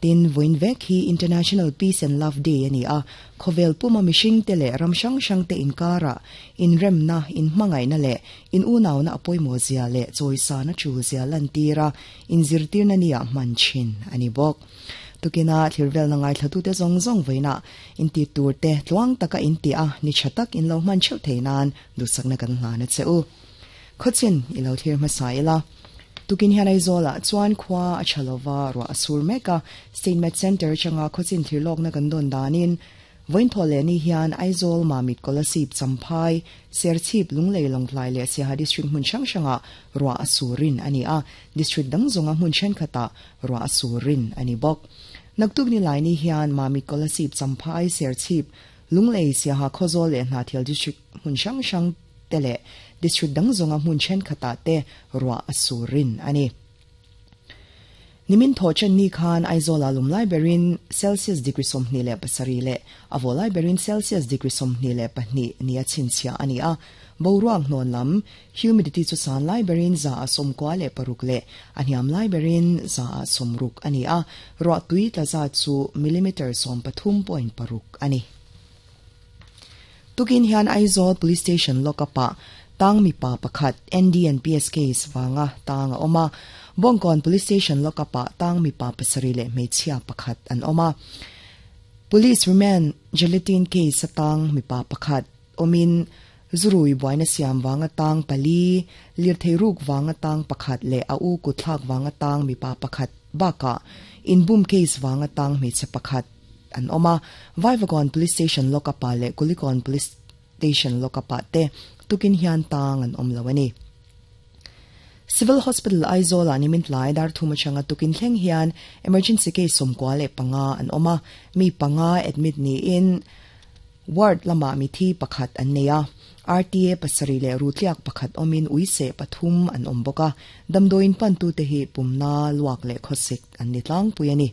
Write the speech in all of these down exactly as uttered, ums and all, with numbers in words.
Tin voin vek hi International Peace and Love Day ani a khovel puma mishing te le ram sang sang te inkara in remna in hmangai na le in unaw na apoimo zia le choisa na chu zia lan tira in zirtir na nia manchin ani bok tukina thirvel na ngai thatu te zong zong veina in ti tur te tluang taka in ti a ni chatak in lo man cheu theinan du sakna kan hla na cheu khochin ilo thir ma saila tukin hian Aizola chuan khwa a chalova ro asur meka State Med Center changa khochin thirlok na kan don danin voin thole ni hian Aizol Mamit Kolasib Champhai Serchhip Lunglei Lawngtlai le Siaha district hmun hrang hranga ro asurin ani a district dang zonga hmun then khata ro asurin ani bok naktuk ni lai ni hian Mamit Kolasib Champhai Serchhip Lunglei Siaha Khawzawl le Hnahthial district hmun hrang hrang tele district dang zonga hmun then khata te ro asurin ani nimin thochen ni khan Aizola lumlai berin Celsius degree somni le pasari le avolai berin Celsius degree somni le pahni nia chinchia ani a boruang non lam humidity chu san lai berin za somkwa le paruk le aniam lai berin za somruk ani a ro tui tla za chu millimeter som pathum point paruk ani tukin hian Aizawl Police Station lokapa tang mi pa pakhat N D and P S case wanga tanga oma Bongkon Police Station lokapa tang mi pa pasari le meichhia pakhat an oma Police remand gelatin case tang mi pa pakhat omin zurui buaina siam wanga tang pali lirtheiruk wanga tang pakhat le au kuthlak wanga tang mi pa pakhat baka inbum case wanga tang meichhe pakhat an oma Vaivagon Police Station lokapa le Kulikon Police Station lokapa te tukin hian tang an om lawani Civil Hospital Aizawl ani min tlai dar thuma changa tukin thleng hian emergency case somkwa le panga an oma mi panga admit ni in ward lama mi thi pakhat an neya R T A pasari le rutliak pakhat omin uise pathum an omboka damdoin pan tu te hi pumna luak le khosik an ni tlang puiani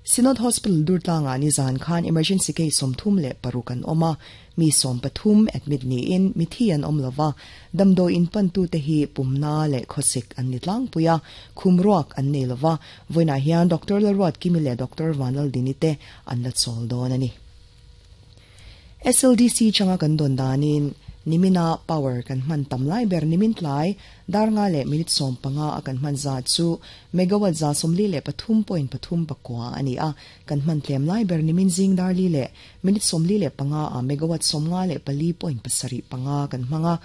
Synod Hospital Durtlanga ani zan khan emergency case somthum le parukan oma mi som pathum admit ni in mi thi an omlova damdo in pan tu te hi pumna le khosik an ni tlang puya khumruak an nei lova voina hian Doctor Lalruat Kimile Doctor Vanlal Dinite an la chol don ani S L D C changa kan don danin nimina power kan man tam lai ber nimin tlai dar nga le minute som panga akan man za chu megawatt za somli le pathum point pathum pakwa ani a kan man tlem lai ber nimin jing dar li le minute somli le panga a megawatt som nga le pali point pasari panga kan manga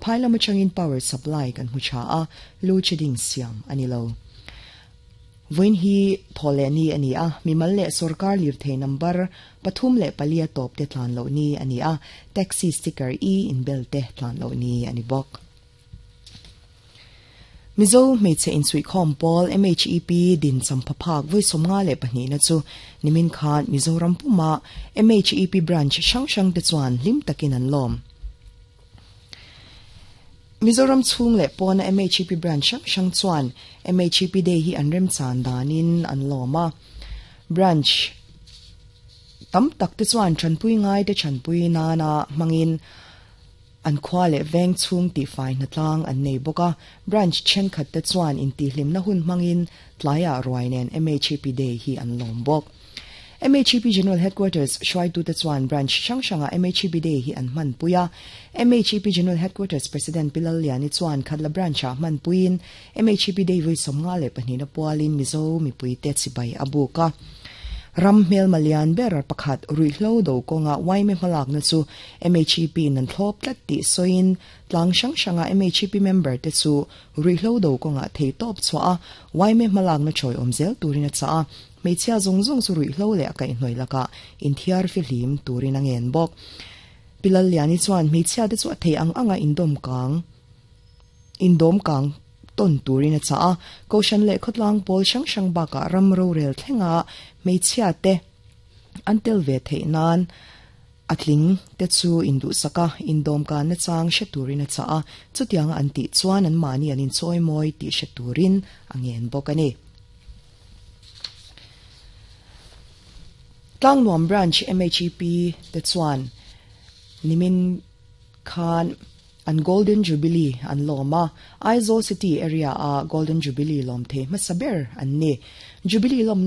phaila machangin power supply kan hucha a load shedding siam ani lo voin hi thole ni ani a mimal le sarkar lir the number pathum le palia top te tlan lo ni ani a taxi sticker e in bel te tlan lo ni ani bok Mizo meiche in sui khom pol M H E P din champhaphak voi somnga le pahni na chu nimin khan Mizoram puma M H E P branch sang sang te chuan lim takin an lom Mizoram chung le pona M H E P branch sang chuan M H E P day hi an rem chan danin an loma branch tam tak te chuan chanpui ngai te chanpui na na mangin an khwa le veng chung ti fai na tlang an nei boka branch chen khat te chuan in ti hlim na hun mangin tlaya ruainen M H E P day hi an lom bok M H E P General Headquarters Shwai tu te chuan branch sang sanga M H E P day hi an man puya M H E P General Headquarters President Pilal Liani chuan khatla branch a man puin M H E P day voi somnga le pahnina pualin Mizo mi pui te chibai abuka ram hmel malian ber pakhat ruihlo do konga waime hmalak na chu M H E P nan thlop tlat ti soin tlang sang sanga M H E P member te chu ruihlo do konga thei top chwa waime hmalak na choi omzel turina cha meichhia zong zong chu ruihlo le akai hnoi laka in thiar fi hlim turin angen bok Pilal Liani chuan meichhia te chu thei ang anga indom kang indom kang ton turin a cha koshan le khotlang pol sang sang baka ram ro rel thlenga meichhia te antel ve thei nan atling te chu indu saka indom ka na chang she turin a cha chutiang an ti chuan an mani anin choi moi ti she turin angen bok ani Tlangnuam branch M H E P te chuan nimin khan an Golden Jubilee an loma Aizawl City area a Golden Jubilee lom the masaber an ni Jubilee lom na